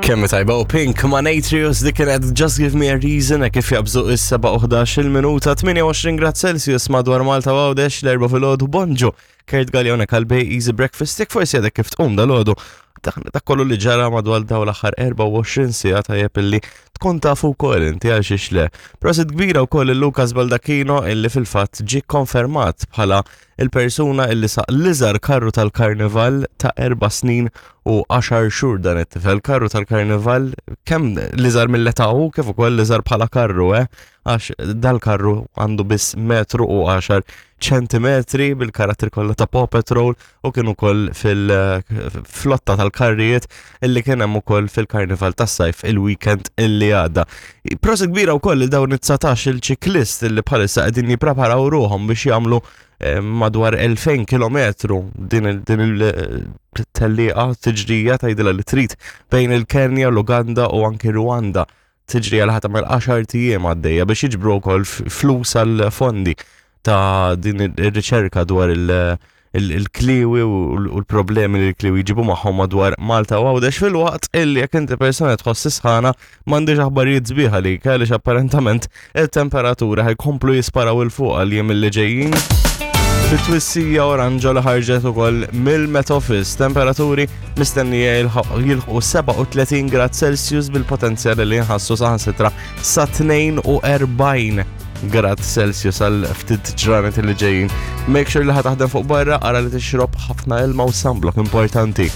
Kemm tajba u Pink ma' Natrius dik kienet Just Give Me a Reason e kif jabżu is-7 il-minuta 28 grad Celsius madwar Malta u Għawdex l-erba' filgħodu bonġu. Kurt Gaglione kalbej Easy Breakfast jekk forsi għadek kif tqum dal-għodu. Dak kollu li ġara madwar daw l-aħħar 24 siegħa tajjeb illi tkun tafu wkoll inti għal xiex le. Prosit kbira wkoll il-Lucas Baldacchino illi fil-fatt ġie konfermat bħala il-persuna illi saq l-iżgħar karru tal-karnival ta' erba' snin u 10 xhur dan it-tifel. Karru tal-karnival kemm l-iżgħar mill-età hu kif ukoll l-iżgħar bħala karru, eh? Għax dal-karru għandu biss metru u 10 ċentimetri bil-karattri kollha ta' Paw Patrol u kien ukoll fil-flotta tal-karrijiet illi kien hemm ukoll fil-karnival tas-sajf il-weekend illi għadda. Prosit kbira wkoll li dawn it-19 il-ċiklist illi bħalissa qegħdin jippreparaw ruħhom biex jagħmlu eh, madwar 2000 km din il-tellieqa tiġrija tgħidilha li trid bejn il-Kenja, l-Uganda u anki Rwanda. Tiġri għal ħadd tagħmel 10 ijiem għaddejja biex jiġbru wkoll flus għal fondi ta' din ir-riċerka dwar il-kliwi u l-problemi li l-kliwi jġibu magħhom madwar Malta u Għawdex fil-waqt illi jekk inti persuna tħoss sħana m'għandix aħbarijiet sbieħ għalik għaliex apparentament il-temperatura ħajkomplu jisparaw il fuq għal jiem li ġejjin. Fit-twissija oranġo li ħarġet ukoll mill-Met Office, temperaturi mistennija jilħqu 37 grad Celsius bil-potenzjal li jinħassu saħansitra sa 42 grad Celsius għal ftit ġranet li ġejjin. Make sure li ħa taħdem fuq barra, ara li tixrob ħafna ilma u sunblock importanti.